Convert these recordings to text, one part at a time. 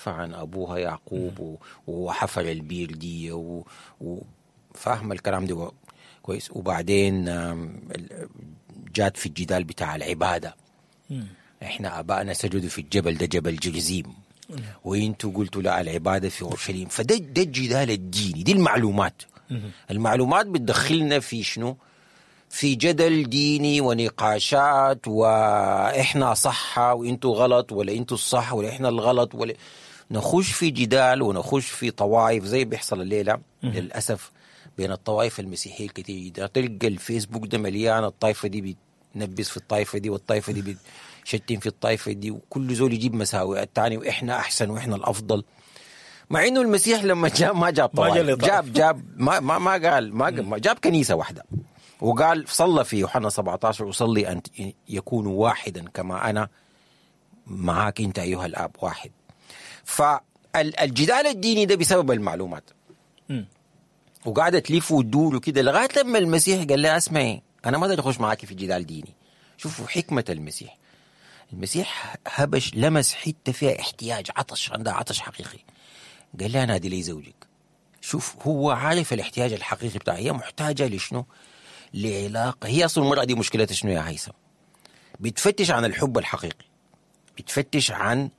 عن ابوها يعقوب وحفر البير دي وفاهمه الكلام ده كويس. وبعدين جات في الجدال بتاع العبادة، احنا ابائنا سجدوا في الجبل ده، جبل جرزيم، وانتوا قلتوا لا العبادة في اورشليم. فده الجدال الديني، دي المعلومات. المعلومات بتدخلنا في شنو؟ في جدل ديني ونقاشات، واحنا صح وانتوا غلط، ولا انتوا الصح ولا احنا الغلط، ولا نخش في جدال ونخش في طوائف زي بيحصل الليلة للاسف بين الطوائف المسيحية الكثير جدا. تلقى الفيسبوك ده مليان، الطائفة دي بتنبس في الطائفة دي، والطائفة دي بتشتم في الطائفة دي، وكل زول يجيب مساوئ الثاني، واحنا احسن واحنا الافضل. مع انه المسيح لما جاء ما جاب طوائف، جاب ما ما ما قال ما جاب كنيسة واحدة، وقال صلى في يوحنا 17 اصلي ان يكونوا واحدا كما انا معاك انت ايها الاب واحد. فالجدال الديني ده بسبب المعلومات، وقاعدة تلف وتدور وكده، لغاية لما المسيح قال لها اسمعي انا ما اقدر اخش معاكي في جدال ديني. شوفوا حكمه المسيح، المسيح هبش لمس حتة فيها احتياج، عطش، عندها عطش حقيقي. قال لها نادي لي زوجك. شوف هو عارف الاحتياج الحقيقي بتاعها، هي محتاجه لشنو؟ لعلاقة. هي اصلا المراة دي مشكلتها شنو يا هيثم؟ بتفتش عن الحب الحقيقي، بتفتش عن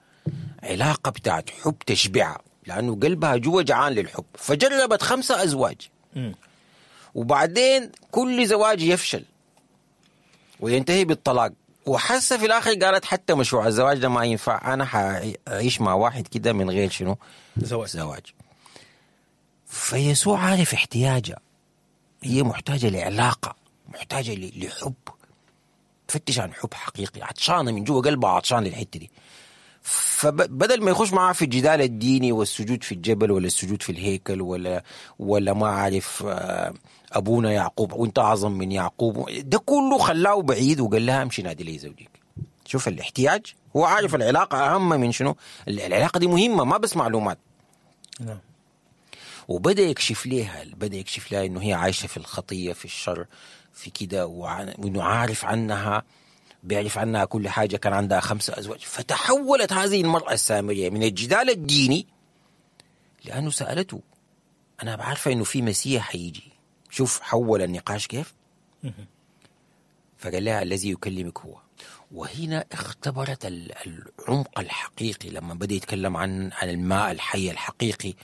علاقة بتاعت حب تشبعها، لانه قلبها جوا جعان للحب. فجربت 5 ازواج، وبعدين كل زواج يفشل وينتهي بالطلاق، وحاسه في الاخر قالت حتى مشروع الزواج ده ما ينفع، انا حاعيش مع واحد كده من غير شنو؟ زواج. فيسوع عارف احتياجها، هي محتاجه لعلاقة، محتاجه لحب، تفتش عن حب حقيقي، عطشانة من جوا قلبها، عطشان للحتة دي. فبدل ما يخش معاه في الجدال الديني والسجود في الجبل ولا السجود في الهيكل ولا ما عارف ابونا يعقوب وانت اعظم من يعقوب، ده كله خلاه بعيد وقال لها امشي نادي لي زوجك. شوف الاحتياج، هو عارف العلاقة اهم من شنو، العلاقة دي مهمة ما بس معلومات. نعم. وبدا يكشف لها، بدا يكشف لها انه هي عايشه في الخطية، في الشر، في كده، وانه عارف عنها، بيعرف عنها كل حاجة، كان عندها 5 أزواج. فتحولت هذه المرأة السامرية من الجدال الديني، لأنه سألته أنا بعرفة إنه في مسيح حيجي. شوف حول النقاش كيف. فقال لها الذي يكلمك هو. وهنا اختبرت العمق الحقيقي لما بدأ يتكلم عن الماء الحي الحقيقي.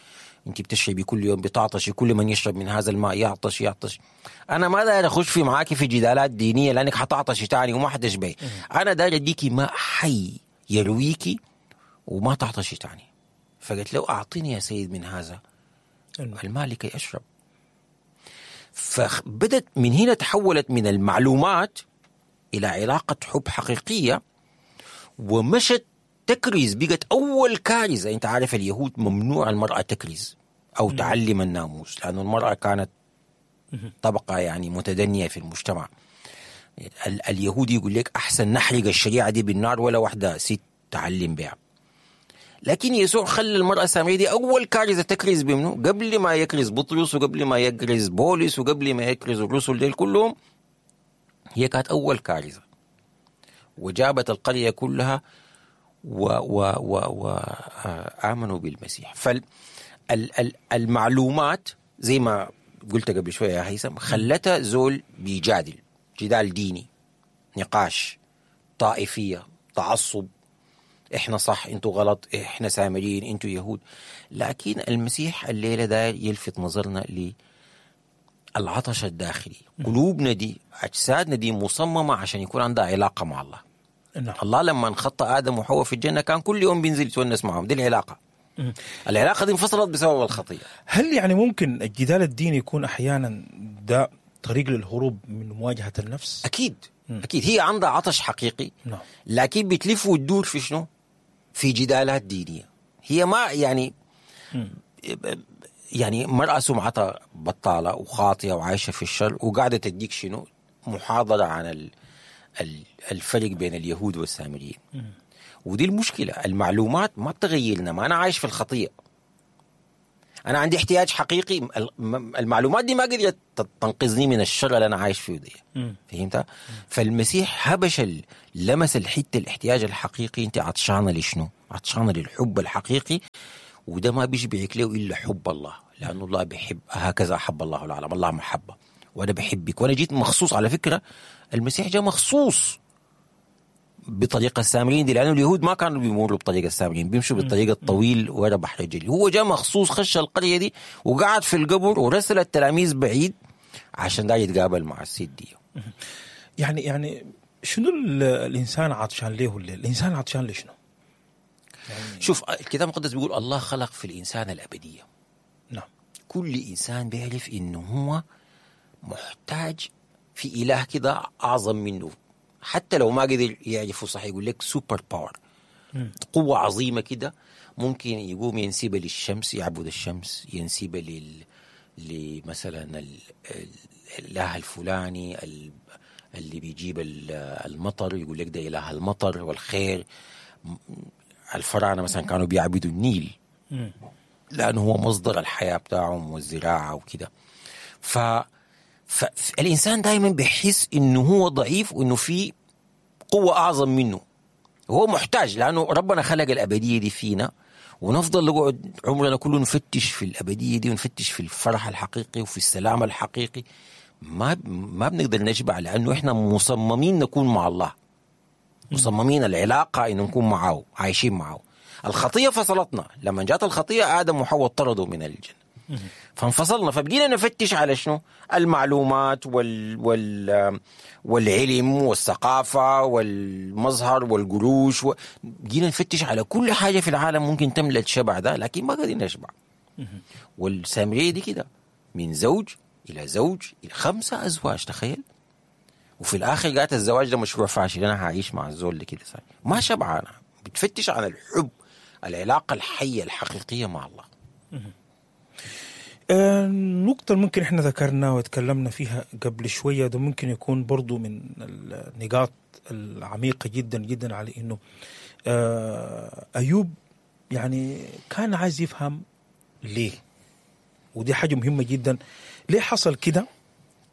انت بتشربي كل يوم بتعطشي، كل من يشرب من هذا الماء يعطش يعطش. انا ما داير اخش في معاكي في جدالات دينية لانك حتعطشي تاني وما حتشبعي. انا داير اديكي ماء حي يرويكي وما تعطشي تاني. فقلت له اعطيني يا سيد من هذا الماء لكي اشرب. فبدت من هنا تحولت من المعلومات الى علاقة حب حقيقية، ومشت تكرز، بقت اول كارثة. انت عارف اليهود ممنوع المراة تكرز او تعلم الناموس، لانه المراة كانت طبقه يعني متدنيه في المجتمع. اليهودي يقول لك احسن نحرق الشريعة دي بالنار ولا واحدة ست تعلم بها. لكن يسوع خلى المراة السامرية دي اول كارثة تكرز بمنه، قبل ما يكرز بطرس وقبل ما يكرز بولس وقبل ما يكرز الرسل ديل كلهم، هي كانت اول كارثة، وجابت القرية كلها و و و وآمنوا بالمسيح. فالمعلومات زي ما قلت قبل شوية يا هيثم خلتها زول بيجادل جدال ديني، نقاش، طائفية، تعصب، احنا صح انتوا غلط، احنا سامريين انتوا يهود. لكن المسيح الليلة داير يلفت نظرنا للعطش الداخلي. قلوبنا دي، أجسادنا دي مصممة عشان يكون عندها علاقة مع الله. نعم. الله لما انخط آدم وحواء في الجنة كان كل يوم بينزل يتونس معهم، دي العلاقة. العلاقة دي انفصلت بسبب الخطية. هل يعني ممكن الجدال الديني يكون أحيانا ده طريق للهروب من مواجهة النفس؟ أكيد. أكيد هي عندها عطش حقيقي. نعم. لكن بتلف وتدور في شنو؟ في جدالات دينية. هي ما يعني يعني مرأة سمعتها بطالة وخاطئة وعايشة في الشر، وقاعدة تديك شنو؟ محاضرة عن الفرق بين اليهود والسامريين. ودي المشكلة، المعلومات ما بتغيرنا، ما أنا عايش في الخطية. انا عندي احتياج حقيقي، المعلومات دي ما قدرت تنقذني من الشر اللي انا عايش فيه دي. فهمت؟ فالمسيح هبش لمس الحتة، الاحتياج الحقيقي. انت عطشانة لشنو؟ عطشانة للحب الحقيقي، وده ما بيشبعك له الا حب الله، لانه الله بيحب، هكذا احب الله العالم، الله محبة، وانا بحبك وانا جيت مخصوص. على فكرة المسيح جاء مخصوص بطريقة السامريين دي، لانه اليهود ما كانوا بيمروا بطريقة السامريين، بيمشوا بالطريقة الطويل ورا بحر الجليل. هو جاء مخصوص، خش القرية دي وقعد في القبر ورسل التلاميذ بعيد عشان ده يتقابل مع السيد دي. يعني شنو الانسان عطشان ليه؟ الانسان عطشان لشنو؟ يعني شوف، الكتاب المقدس بيقول الله خلق في الانسان الابدية. نعم. كل انسان بيعرف انه هو محتاج في اله كده اعظم منه، حتى لو ما قدر يعرفه صح، يقول لك super power، قوة عظيمة كده، ممكن يقوم ينسبها للشمس، يعبد الشمس، ينسبها لمثلا الاله الفلاني اللي بيجيب المطر، يقول لك ده اله المطر والخير. الفراعنة مثلا كانوا بيعبدوا النيل لأنه هو مصدر الحياة بتاعهم والزراعة وكده. فالإنسان دائما بيحس إنه هو ضعيف وإنه في قوة أعظم منه، هو محتاج، لأنه ربنا خلق الأبدية دي فينا، ونفضل نقعد عمرنا كله نفتش في الأبدية دي، ونفتش في الفرح الحقيقي وفي السلام الحقيقي. ما بنقدر نشبع، لأنه إحنا مصممين نكون مع الله، مصممين العلاقة إنه نكون معه، عايشين معه. الخطية فصلتنا، لما جات الخطية آدم وحواء طردوا من الجنة، فانفصلنا، فبقينا نفتش على شنو؟ المعلومات والعلم والثقافة والمظهر والقروش، بقينا نفتش على كل حاجة في العالم ممكن تملى الشبع ده، لكن ما قادرين نشبع. والسامرية دي كده من زوج إلى زوج إلى 5 أزواج، تخيل. وفي الآخر قالت الزواج ده مشروع فاشل، أنا هعيش مع الزول اللي كده صار ما شبعانة. بتفتش عن الحب، العلاقة الحية الحقيقية مع الله. النقطة اللي ممكن احنا ذكرنا وتكلمنا فيها قبل شوية ده ممكن يكون برضو من النقاط العميقة جدا جدا، على انه أيوب يعني كان عايز يفهم ليه، ودي حاجة مهمة جدا. ليه حصل كده؟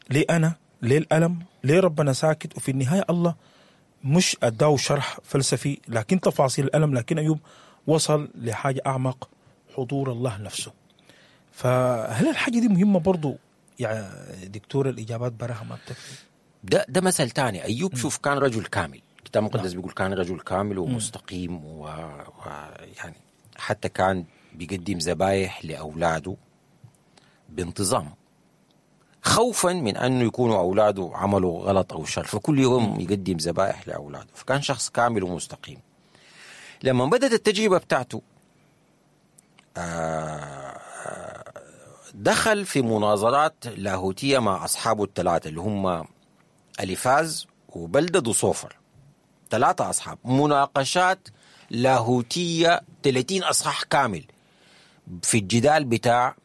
ليه أنا؟ ليه الألم؟ ليه ربنا ساكت؟ وفي النهاية الله مش أداه شرح فلسفي لكن تفاصيل الألم، لكن أيوب وصل لحاجة أعمق، حضور الله نفسه. فهل الحاجة دي مهمة برضو يا دكتور؟ الإجابات براها ما بتكفي. ده مثل تاني. أيوب شوف كان رجل كامل، الكتاب المقدس بيقول كان رجل كامل ومستقيم، ويعني حتى كان بيقدم ذبايح لأولاده بانتظام، خوفا من أنه يكونوا أولاده عملوا غلط أو شر، فكل يوم يقدم ذبائح لأولاده. فكان شخص كامل ومستقيم. لما بدأت التجربة بتاعته دخل في مناظرات لاهوتية مع أصحابه الثلاثة اللي هم أليفاز وبلدد وصوفر، 3 أصحاب، مناقشات لاهوتية 30 أصحاح كامل في الجدال بتاع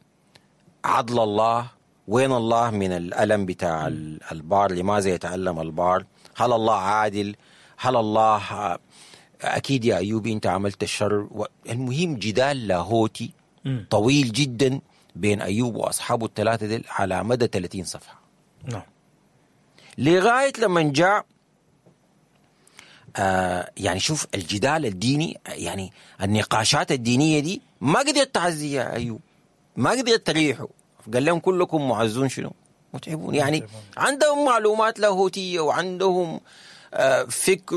عدل الله، وين الله من الألم بتاع البار، لماذا يتألم البار، هل الله عادل، هل الله أكيد يا أيوب أنت عملت الشر. المهم جدال لاهوتي طويل جدا بين أيوب وأصحابه الثلاثة دي على مدى 30 صفحة. نعم. لغاية لما جاء يعني شوف الجدال الديني، يعني النقاشات الدينية دي ما قدرت تعزي يا أيوب، ما قدرت تريحه. قال لهم كلكم معزون شنو؟ متعبون. يعني عندهم معلومات لاهوتية وعندهم فكر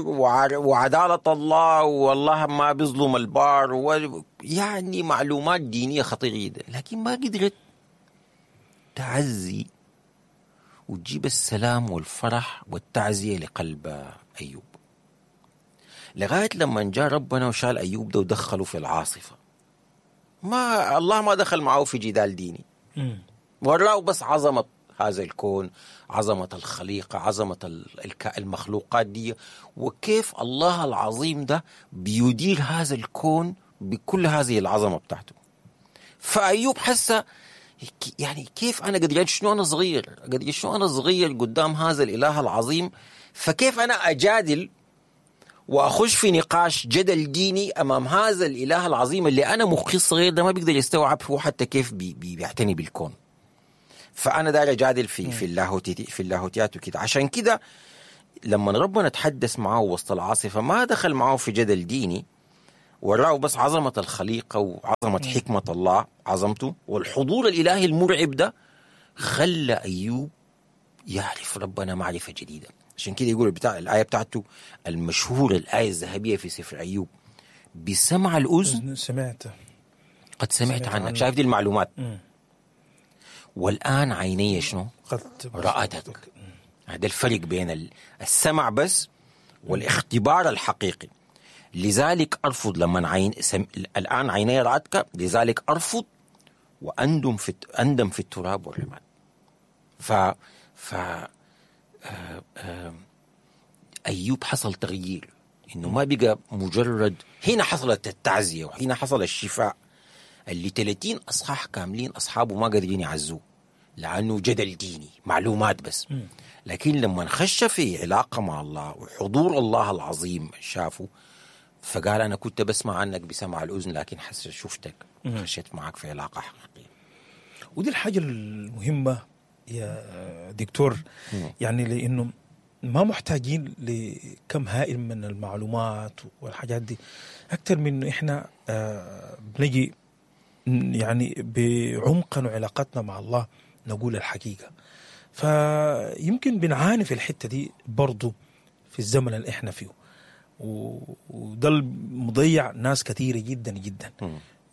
وعدالة الله، والله ما بيظلم البار، يعني معلومات دينية خطيرة جدا، لكن ما قدرت تعزي وتجيب السلام والفرح والتعزية لقلب أيوب. لغاية لما جاء ربنا وشال أيوب ده ودخله في العاصفة. ما الله ما دخل معه في جدال ديني، وراه بس عظمة هذا الكون، عظمة الخليقة، عظمة المخلوقات دي، وكيف الله العظيم ده بيدير هذا الكون بكل هذه العظمة بتاعته. فأيوب حس يعني كيف أنا قد شنو أنا صغير، قد شنو أنا صغير قدام هذا الإله العظيم، فكيف أنا أجادل واخش في نقاش جدل ديني امام هذا الاله العظيم اللي انا مخي الصغير ده ما بيقدر يستوعب هو حتى كيف بيعتني بالكون. فانا داير اجادل في اللاهوتيات وكده. عشان كده لما ربنا تحدث معه وسط العاصفة ما دخل معه في جدل ديني، وراه بس عظمه الخليقة وعظمه حكمه الله، عظمته والحضور الالهي المرعب ده خلى ايوب يعرف ربنا معرفة جديدة. عشان كده يقول بتاع الآية بتاعته المشهورة، الآية الذهبية في سفر أيوب، بسمع الأذن سمعت قد سمعت عنك. شايف دي المعلومات. والآن عيني شنو؟ قد رأتك. هذا الفرق بين السمع بس والاختبار الحقيقي. لذلك أرفض لما الآن عيني رأتك، لذلك أرفض وأندم في التراب والرماد. ف أيوب حصل تغيير، إنه ما بقى مجرد. هنا حصلت التعزية وهنا حصل الشفاء اللي 30 أصحاح كاملين أصحابه ما قادرين يعزوه لأنه جدل ديني، معلومات بس. لكن لما نخش في علاقة مع الله وحضور الله العظيم شافه، فقال أنا كنت بسمع عنك بسمع الأذن، لكن حس شفتك، خشيت معك في علاقة حقيقية. ودي الحاجة المهمة يا دكتور، يعني لأنه ما محتاجين لكم هائل من المعلومات والحاجات دي، أكثر من إنه إحنا بنجي يعني بعمقنا وعلاقتنا مع الله نقول الحقيقة. فيمكن بنعاني في الحتة دي برضو في الزمن اللي إحنا فيه، وده مضيع ناس كثيرة جدا جدا،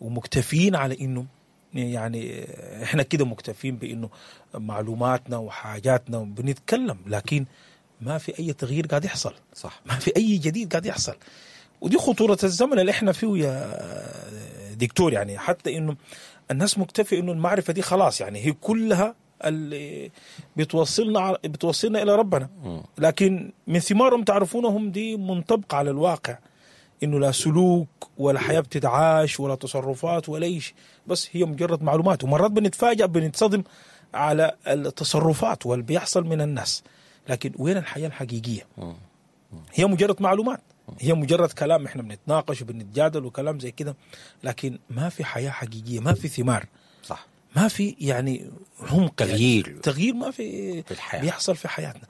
ومكتفين على إنه يعني احنا كده مكتفين بانه معلوماتنا وحاجاتنا بنتكلم، لكن ما في اي تغيير قاعد يحصل. صح، ما في اي جديد قاعد يحصل. ودي خطورة الزمن اللي احنا فيه يا دكتور. يعني حتى انه الناس مكتفي انه المعرفة دي خلاص، يعني هي كلها اللي بتوصلنا الى ربنا، لكن من ثمارهم تعرفونهم دي منطبقة على الواقع، انه لا سلوك ولا حياة بتتعاش ولا تصرفات ولا شيء، بس هي مجرد معلومات. ومرات بنتفاجأ بنتصدم على التصرفات واللي بيحصل من الناس، لكن وين الحياة الحقيقية؟ هي مجرد معلومات، هي مجرد كلام، احنا بنتناقش وبنتجادل وكلام زي كده، لكن ما في حياة حقيقية، ما في ثمار. صح، ما في يعني عمق، تغيير، يعني تغيير ما في الحياة. بيحصل في حياتنا.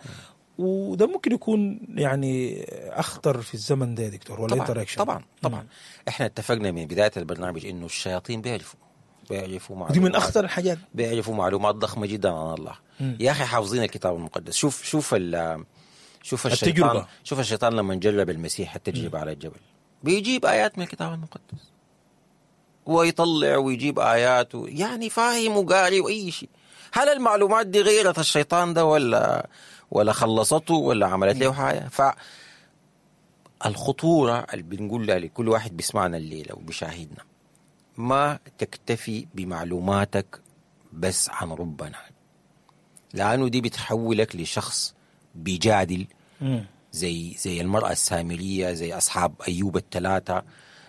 وده ممكن يكون يعني أخطر في الزمن ده يا دكتور، ولا طبعا انت رأيك شنو؟ طبعا طبعا. احنا اتفقنا من بداية البرنامج انه الشياطين بيعرفوا معلومات، دي من أخطر الحاجات، بيعرفوا معلومات ضخمة جدا عن الله. يا أخي حافظين الكتاب المقدس. شوف شوف شوف الشيطان، التجربة. شوف الشيطان لما جرب المسيح التجربة على الجبل، بيجيب آيات من الكتاب المقدس ويطلع ويجيب آيات يعني فاهم وقاري وأي شيء. هل المعلومات دي غيرت الشيطان ده ولا خلصته ولا عملت له حاجة؟ فالخطورة اللي بنقولها لكل واحد بيسمعنا الليلة وبيشاهدنا، ما تكتفي بمعلوماتك بس عن ربنا، لأنه دي بتحولك لشخص بيجادل زي المرأة السامرية، زي أصحاب أيوب الثلاثة،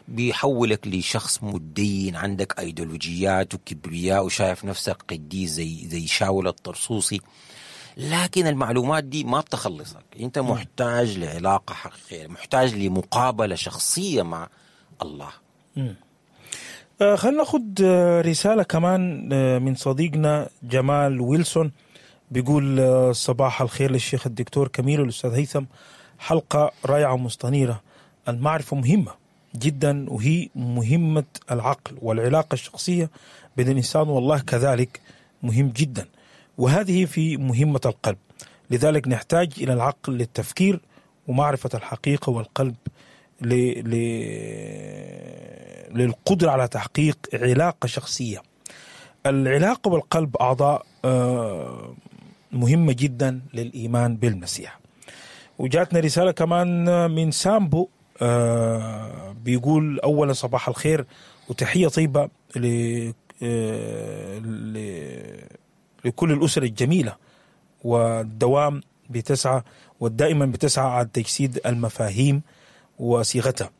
بيحولك لشخص متدين، عندك أيديولوجيات وكبرياء وشايف نفسك قديس زي شاول الطرسوسي. لكن المعلومات دي ما بتخلصك، انت محتاج لعلاقة حقيقية، محتاج لمقابلة شخصية مع الله. خلينا ناخد رسالة كمان من صديقنا جمال ويلسون، بيقول صباح الخير للشيخ الدكتور كميل والأستاذ هيثم، حلقة رائعة ومستنيرة. المعرفة مهمة جدا، وهي مهمة العقل والعلاقة الشخصية بين الإنسان والله كذلك مهم جدا، وهذه في مهمة القلب، لذلك نحتاج إلى العقل للتفكير ومعرفة الحقيقة، والقلب للقدرة على تحقيق علاقة شخصية. العلاقة والقلب أعضاء مهمة جدا للإيمان بالمسيح. وجاتنا رسالة كمان من سامبو، بيقول أولا صباح الخير وتحية طيبة لكل الأسر الجميلة والدوام بتسعى والدائما بتسعى على تجسيد المفاهيم وصيغتها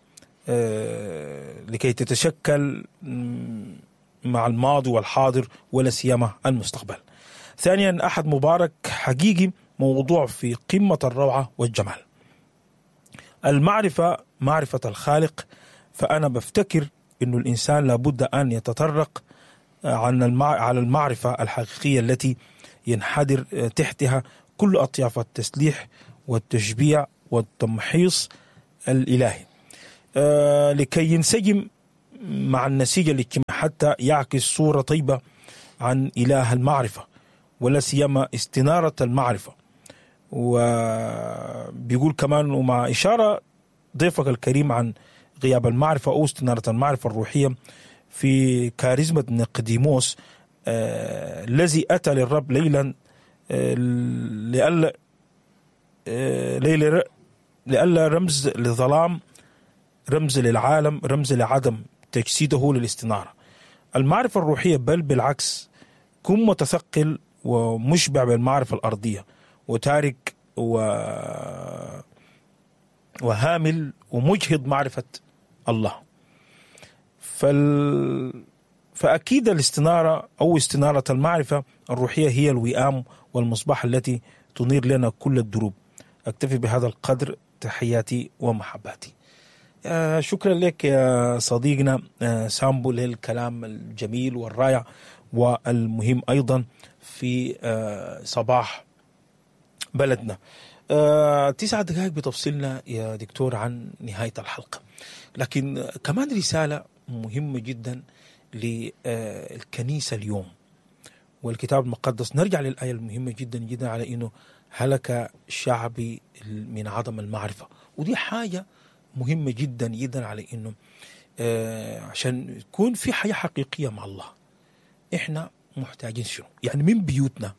لكي تتشكل مع الماضي والحاضر ولا سيما المستقبل. ثانيا، أحد مبارك حقيقي، موضوع في قمة الروعة والجمال. المعرفة معرفة الخالق، فأنا بفتكر إنه الإنسان لابد أن يتطرق على المعرفة الحقيقية التي ينحدر تحتها كل أطياف التسليح والتشبيع والتمحيص الإلهي، لكي ينسجم مع النسيج الاجتماعي حتى يعكس صورة طيبة عن إله المعرفة، ولا سيما استنارة المعرفة. وبيقول كمان ومع إشارة ضيفك الكريم عن غياب المعرفة أو استنارة المعرفة الروحية في كاريزما نقديموس الذي أتى للرب ليلا لئلا رمز للظلام، رمز للعالم، رمز لعدم تجسيده للاستنارة المعرفة الروحية، بل بالعكس كن متثقل ومشبع بالمعرفة الأرضية وتارك وهامل ومجهد معرفة الله. فأكيد الاستنارة أو استنارة المعرفة الروحية هي الوئام والمصباح التي تنير لنا كل الدروب. أكتفي بهذا القدر، تحياتي ومحباتي. شكرا لك يا صديقنا سامبو للكلام الجميل والرائع والمهم أيضا في صباح بلدنا. 9 دقائق بتفصلنا يا دكتور عن نهاية الحلقة، لكن كمان رسالة مهمة جدا للكنيسة اليوم والكتاب المقدس. نرجع للآية المهمة جدا جدا على إنه هلك شعبي من عدم المعرفة، ودي حاجة مهمة جدا جدا على إنه عشان يكون في حياة حقيقية مع الله إحنا محتاجين شنو؟ يعني من بيوتنا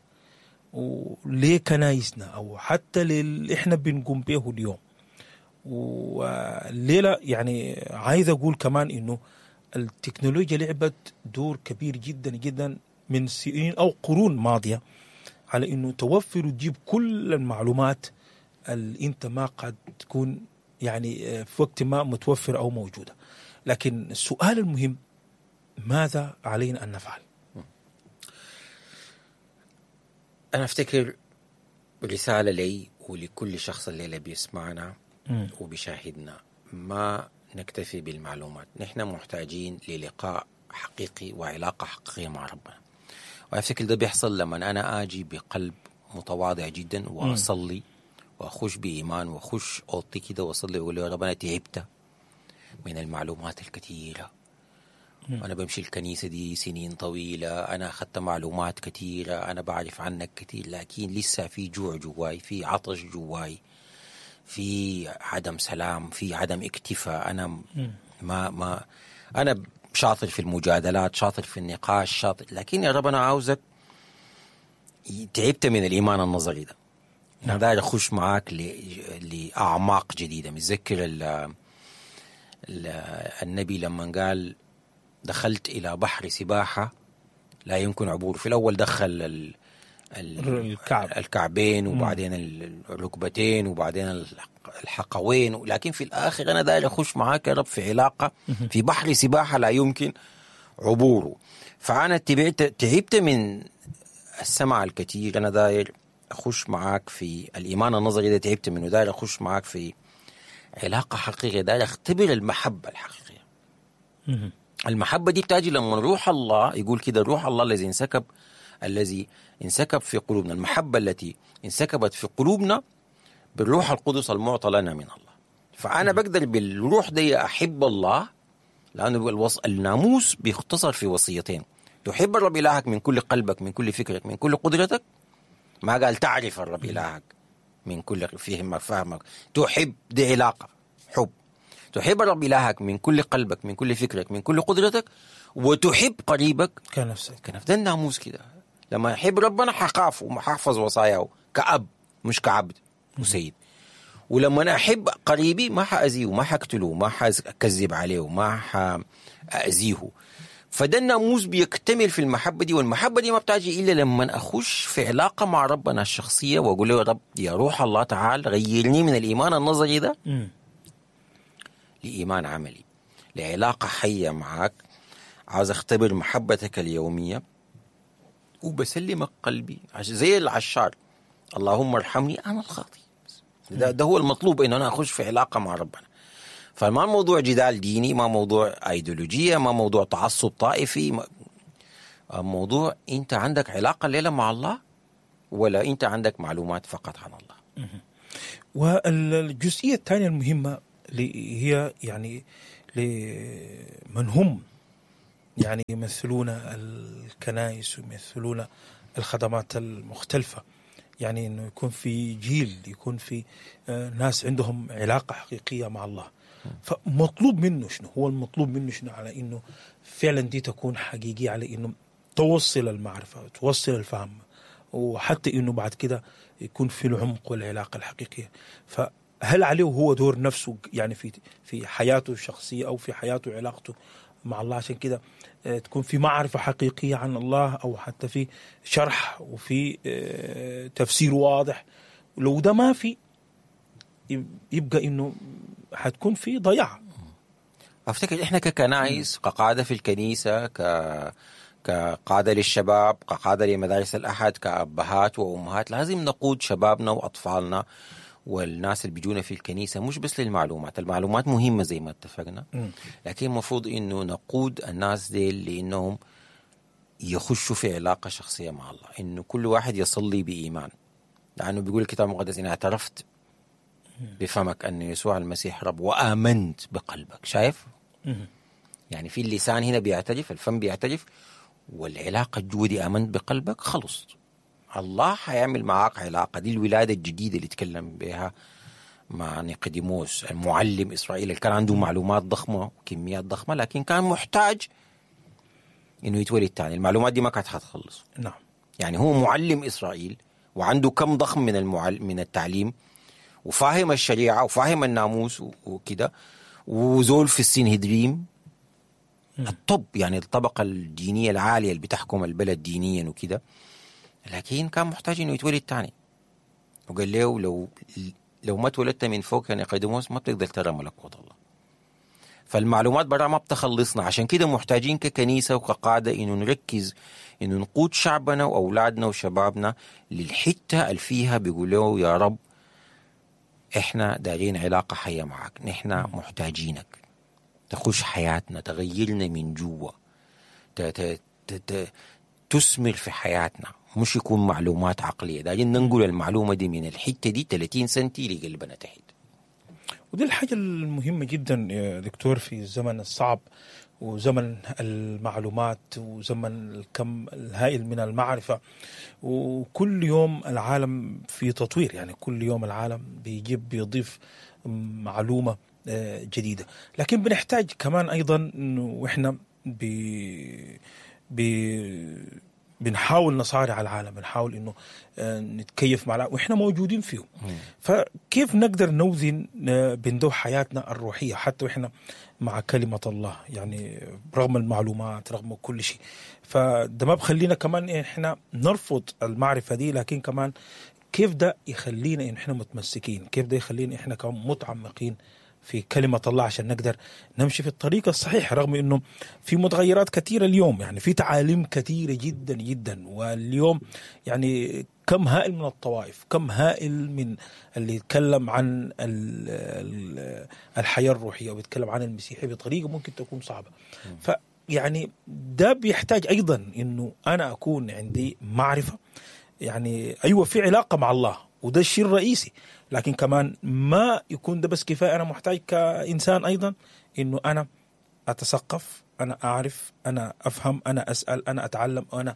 وليه كنايسنا أو حتى اللي إحنا بنقوم به اليوم والليلة. يعني عايز أقول كمان إنه التكنولوجيا لعبت دور كبير جدا جدا من سنين أو قرون ماضية على إنه توفر وتجيب كل المعلومات اللي أنت ما قد تكون يعني في وقت ما متوفر أو موجودة. لكن السؤال المهم، ماذا علينا أن نفعل؟ أنا أفتكر رسالة لي ولكل شخص الليلة بيسمعنا وبيشاهدنا، ما نكتفي بالمعلومات، نحن محتاجين للقاء حقيقي وعلاقة حقيقية مع ربنا. وأفتكر ده بيحصل لما أنا آجي بقلب متواضع جدا وأصلي وأخش بإيمان وأخش أوضتي كده وأصلي وأقول يا رب أنا تعبت من المعلومات الكثيرة، أنا بمشي الكنيسة دي سنين طويلة، أنا أخذت معلومات كثيرة، أنا بعرف عنك كثير، لكن لسه في جوع جواي، في عطش جواي، في عدم سلام، في عدم اكتفاء. أنا ما أنا شاطر في المجادلات، شاطر في النقاش، شاطر، لكن يا رب أنا عاوزك، تعبت من الإيمان النظري ده، أنا داير أخش معاك لأعماق جديدة. متذكر النبي لما قال دخلت إلى بحر سباحة لا يمكن عبوره. في الأول دخل الكعبين وبعدين الركبتين وبعدين الحقوين، لكن في الآخر أنا داير أخش معاك يا رب في علاقة في بحر سباحة لا يمكن عبوره. فأنا تعبت من السمع الكثير، أنا داير أخش معاك في الإيمان النظري ده تعبت منه، داير أخش معاك في علاقة حقيقية، داير أختبر المحبة الحقيقية. المحبة دي بتاجي لما روح الله يقول كده، روح الله الذي انسكب في قلوبنا، المحبة التي انسكبت في قلوبنا بالروح القدس المعطى لنا من الله. فأنا بقدر بالروح دي أحب الله، لأنه الناموس بيختصر في وصيتين: تحب الرب إلهك من كل قلبك، من كل فكرك، من كل قدرتك. ما قال تعرف الرب إلهك من كل فهمك فهمك، تحب، دي علاقة حب. تحب الرب إلهك من كل قلبك، من كل فكرك، من كل قدرتك، وتحب قريبك كنفسك. ده الناموس كده. لما أحب ربنا حخاف وححفظ وصاياه كأب مش كعبد وسيد. ولما أنا أحب قريبي ما حأذيه، ما حقتله، ما حأكذب عليه، ما حأذيه. فده الناموس بيكتمل في المحبة دي، والمحبة دي ما بتاجي إلا لما أخش في علاقة مع ربنا الشخصية وأقول له يا رب، يا روح الله تعال غيرني من الإيمان النظري ده لإيمان عملي، لعلاقة حية معك. عاوز أختبر محبتك اليومية وبسلمك قلبي زي العشار، اللهم ارحمني أنا الخاطي. ده هو المطلوب، انه انا اخش في علاقة مع ربنا. فما الموضوع جدال ديني، ما موضوع ايديولوجية، ما موضوع تعصب طائفي، موضوع انت عندك علاقة الليلة مع الله ولا انت عندك معلومات فقط عن الله. والجزئيه الثانية المهمة اللي هي يعني لمن هم يعني يمثلون الكنائس ويمثلون الخدمات المختلفة، يعني انه يكون في جيل، يكون في ناس عندهم علاقة حقيقية مع الله. فمطلوب منه شنو؟ هو المطلوب منه شنو على انه فعلا دي تكون حقيقية، على انه توصل المعرفة، توصل الفهم، وحتى انه بعد كده يكون في العمق والعلاقة الحقيقية. فهل عليه هو دور نفسه يعني في حياته الشخصية او في حياته وعلاقته مع الله، عشان كده تكون في معرفة حقيقية عن الله، أو حتى في شرح وفي تفسير واضح؟ لو ده ما في يبقى إنه حتكون في ضياع. أفتكر إحنا ككنائس، كقادة في الكنيسة، كقادة للشباب، كقادة لمدارس الأحد، كأبهات وأمهات، لازم نقود شبابنا وأطفالنا والناس اللي بيجونا في الكنيسة مش بس للمعلومات. المعلومات مهمة زي ما اتفقنا، لكن المفروض إنه نقود الناس دي لإنهم يخشوا في علاقة شخصية مع الله، إنه كل واحد يصلي بإيمان، لأنه بيقول الكتاب المقدس إن اعترفت بفمك أن يسوع المسيح رب وآمنت بقلبك. شايف؟ يعني في اللسان هنا بيعترف، الفم بيعترف، والعلاقة الجوا دي آمنت بقلبك، خلص الله حيعمل معاك علاقة. دي الولادة الجديدة اللي تكلم بها مع نيقوديموس المعلم إسرائيل، اللي كان عنده معلومات ضخمة وكميات ضخمة، لكن كان محتاج إنه يتولد تاني. المعلومات دي ما كانت حتخلص. نعم. يعني هو معلم إسرائيل وعنده كم ضخم من التعليم، وفاهم الشريعة وفاهم الناموس وكده، وزول في السنهدريم الطب، يعني الطبقة الدينية العالية اللي بتحكم البلد دينيا وكده، لكن كان محتاج انه يتولد تاني. وقال له لو ما اتولدت من فوق يا نيقوديموس ما بتقدر ترى ملكوت الله. فالمعلومات برا ما بتخلصنا، عشان كده محتاجين ككنيسة وكقادة انه نركز انه نقود شعبنا واولادنا وشبابنا للحتة اللي فيها بيقولوا يا رب احنا دارين علاقة حية معك، نحن محتاجينك تخش حياتنا، تغيرنا من جوا، تثمر في حياتنا، مش يكون معلومات عقلية. دارين ننقل المعلومة دي من الحتة دي 30 سنتي لقلبنا تحت. ودي الحاجة المهمة جدا يا دكتور في الزمن الصعب وزمن المعلومات وزمن الكم الهائل من المعرفة، وكل يوم العالم في تطوير، يعني كل يوم العالم بيجيب بيضيف معلومة جديدة، لكن بنحتاج كمان أيضا إنه وإحنا بنحاول نصارع العالم، بنحاول إنه نتكيف مع العالم وإحنا موجودين فيه. فكيف نقدر نوزن بين دو حياتنا الروحية حتى وإحنا مع كلمة الله، يعني رغم المعلومات رغم كل شيء؟ فده ما بخلينا كمان إحنا نرفض المعرفة دي، لكن كمان كيف ده يخلينا إن إحنا متمسكين، كيف ده يخلينا إحنا كمان متعمقين في كلمة الله عشان نقدر نمشي في الطريق الصحيح، رغم أنه في متغيرات كثيرة اليوم، يعني في تعاليم كثيرة جدا جدا، واليوم يعني كم هائل من الطوائف، كم هائل من اللي يتكلم عن الحياة الروحية ويتكلم عن المسيحية بطريقة ممكن تكون صعبة. فيعني ده بيحتاج أيضا أنه أنا أكون عندي معرفة، يعني أيوة في علاقة مع الله وده الشيء الرئيسي، لكن كمان ما يكون ده بس كفاية. أنا محتاج كإنسان أيضا إنه أنا أتثقف، أنا أعرف، أنا أفهم، أنا أسأل، أنا أتعلم، أنا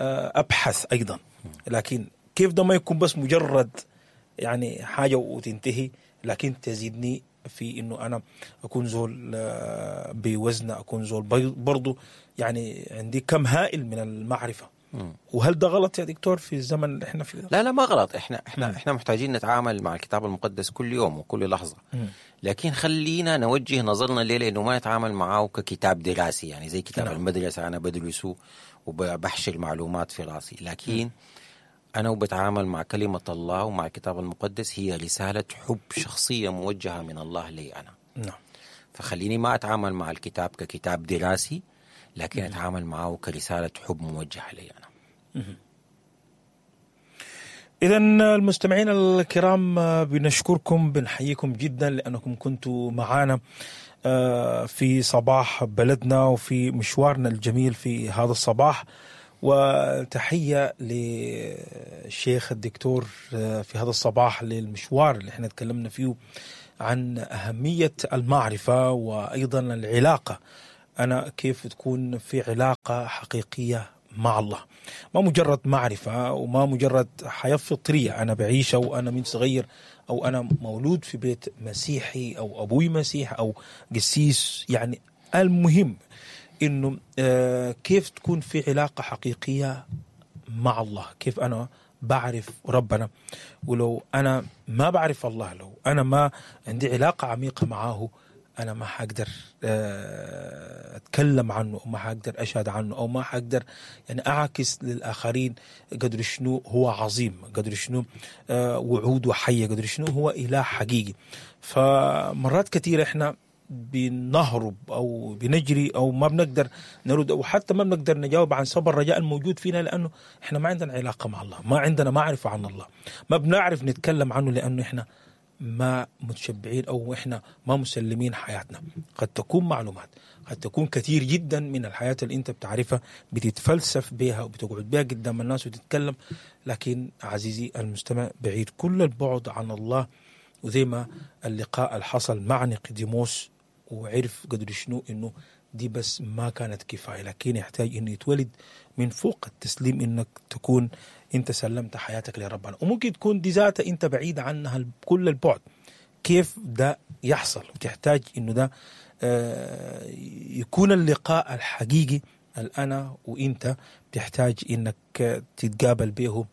أبحث أيضا. لكن كيف ده ما يكون بس مجرد يعني حاجة وتنتهي، لكن تزيدني في إنه أنا أكون زول بوزن، أكون زول برضو يعني عندي كم هائل من المعرفة. وهل ده غلط يا دكتور في الزمن اللي احنا فيه؟ لا لا ما غلط. احنا محتاجين نتعامل مع الكتاب المقدس كل يوم وكل لحظة، لكن خلينا نوجه نظرنا ليه لانه ما نتعامل معه ككتاب دراسي، يعني زي كتاب المدرسة انا بدرسه وبحشر معلومات في راسي، لكن انا وبتعامل مع كلمة الله ومع الكتاب المقدس هي رسالة حب شخصية موجهة من الله لي انا. نعم. فخليني ما اتعامل مع الكتاب ككتاب دراسي، لكن اتعامل معه كرسالة حب موجهة لي أنا. إذا المستمعين الكرام، بنشكركم، بنحييكم جدا لأنكم كنتوا معنا في صباح بلدنا وفي مشوارنا الجميل في هذا الصباح. وتحية للشيخ الدكتور في هذا الصباح للمشوار اللي احنا تكلمنا فيه عن أهمية المعرفة وأيضا العلاقة، أنا كيف تكون في علاقة حقيقية مع الله، ما مجرد معرفة وما مجرد حياة فطرية أنا بعيشها وأنا من صغير، أو أنا مولود في بيت مسيحي أو أبوي مسيح أو قسيس. يعني المهم إنه كيف تكون في علاقة حقيقية مع الله، كيف أنا بعرف ربنا. ولو أنا ما بعرف الله، لو أنا ما عندي علاقة عميقة معاه، أنا ما حقدر أتكلم عنه، أو ما حقدر أشهد عنه، أو ما حقدر يعني أعكس للآخرين قدر شنو هو عظيم، قدر شنو وعوده حية، قدر شنو هو إله حقيقي. فمرات كثيرة إحنا بنهرب أو بنجري أو ما بنقدر نرد، أو حتى ما بنقدر نجاوب عن سبب الرجاء الموجود فينا، لأنه إحنا ما عندنا علاقة مع الله، ما عندنا معرفة عن الله، ما بنعرف نتكلم عنه، لأنه إحنا ما متشبعين أو إحنا ما مسلمين حياتنا. قد تكون معلومات، قد تكون كثير جدا من الحياة اللي أنت بتعرفها بتتفلسف بها وبتقعد بها قدام الناس وتتكلم، لكن عزيزي المستمع بعيد كل البعد عن الله. وزي ما اللقاء اللي حصل مع نيقوديموس وعرف قدر شنو إنه دي بس ما كانت كفاية، لكن يحتاج إنه يتولد من فوق التسليم، إنك تكون أنت سلمت حياتك لربنا. وممكن تكون دي ذاتها أنت بعيد عنها كل البعد. كيف ده يحصل؟ وتحتاج إنه ده يكون اللقاء الحقيقي الأنا وإنت بتحتاج إنك تتقابل به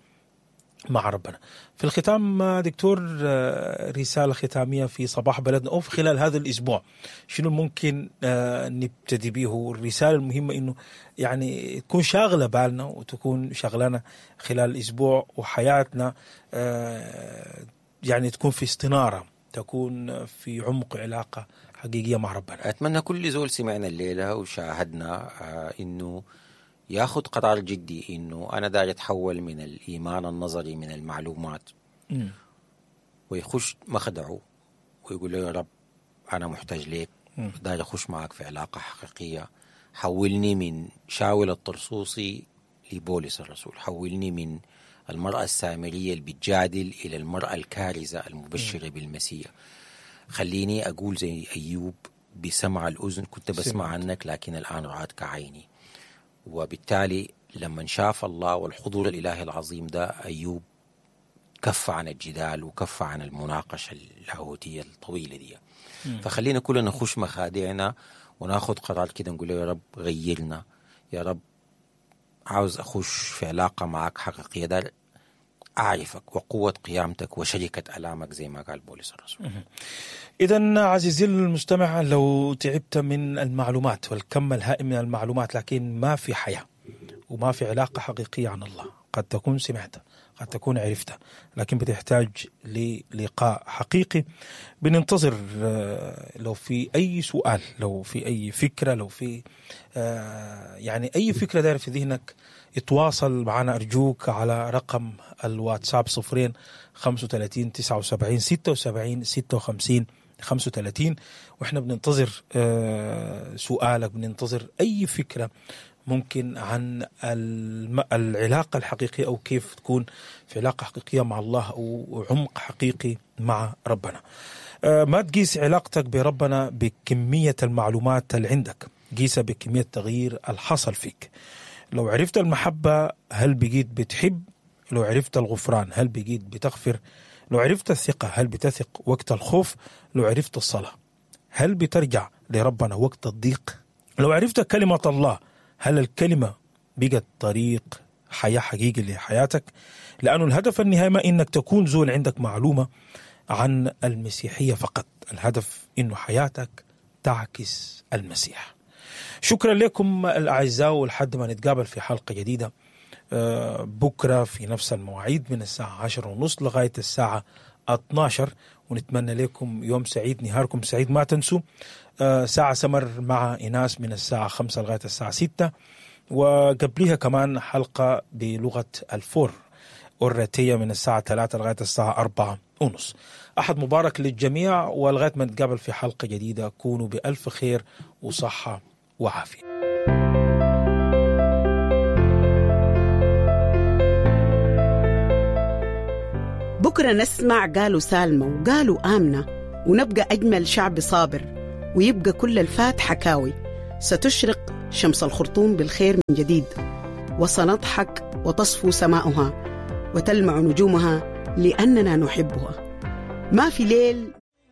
مع ربنا. في الختام دكتور، رسالة ختامية في صباح بلدنا أو في خلال هذا الأسبوع، شنو ممكن نبتدي به؟ الرسالة المهمة إنه يعني تكون شاغلة بالنا وتكون شغلنا خلال الأسبوع، وحياتنا يعني تكون في استنارة، تكون في عمق علاقة حقيقية مع ربنا. أتمنى كل زول سمعنا الليلة وشاهدنا إنه ياخذ قرار جدي، إنه أنا داير أتحول من الإيمان النظري من المعلومات، ويخش مخدعه ويقول له يا رب أنا محتاج ليك، داير أخش معك في علاقة حقيقية، حولني من شاول الطرسوسي لبولس الرسول، حولني من المرأة السامرية اللي بتجادل إلى المرأة الكارزة المبشرة بالمسيح. خليني أقول زي أيوب بسمع الأذن كنت بسمع عنك لكن الآن رأتك عيني. وبالتالي لما شاف الله والحضور الإلهي العظيم ده، أيوب كف عن الجدال وكف عن المناقشة اللاهوتية الطويلة دي. فخلينا كلنا نخش مخادعنا وناخد قرار كده، نقول يا رب غيرنا، يا رب عاوز أخش في علاقة معك حقيقية، ده أعرفك وقوة قيامتك وشركة ألامك زي ما قال بولس الرسول. إذن عزيزي المستمع، لو تعبت من المعلومات والكم الهائل من المعلومات لكن ما في حياة وما في علاقة حقيقية عن الله، قد تكون سمعت، قد تكون عرفت، لكن بتحتاج للقاء حقيقي. بننتظر لو في أي سؤال، لو في أي فكرة، لو في يعني أي فكرة دايرة في ذهنك، اتواصل معنا أرجوك على رقم الواتساب 0 35 79 76 56 35. وإحنا بننتظر سؤالك، بننتظر أي فكرة ممكن عن العلاقة الحقيقية، أو كيف تكون في علاقة حقيقية مع الله أو عمق حقيقي مع ربنا. ما تقيس علاقتك بربنا بكمية المعلومات اللي عندك، قيسها بكمية التغيير الحصل فيك. لو عرفت المحبة هل بقيت بتحب؟ لو عرفت الغفران هل بقيت بتغفر؟ لو عرفت الثقة هل بتثق وقت الخوف؟ لو عرفت الصلاة هل بترجع لربنا وقت الضيق؟ لو عرفت كلمة الله هل الكلمة بقت طريق حياة حقيقي لحياتك؟ لأنه الهدف النهائي ما إنك تكون زول عندك معلومة عن المسيحية فقط، الهدف إنه حياتك تعكس المسيح. شكرا لكم الأعزاء، ولحد ما نتقابل في حلقة جديدة بكرة في نفس المواعيد من الساعة 10:30 لغاية الساعة 12، ونتمنى لكم يوم سعيد، نهاركم سعيد. ما تنسوا ساعة سمر مع إناس من الساعة 5 لغاية الساعة 6، وقبلها كمان حلقة بلغة الفور. أورتية من الساعة 3 لغاية الساعة 4:30. أحد مبارك للجميع، ولغاية ما نتقابل في حلقة جديدة كونوا بألف خير وصحة وعافية. بكرة نسمع قالوا سالمة وقالوا آمنة، ونبقى أجمل شعب صابر، ويبقى كل الفات حكاوي. ستشرق شمس الخرطوم بالخير من جديد، وسنضحك وتصفو سماؤها وتلمع نجومها لأننا نحبها. ما في ليل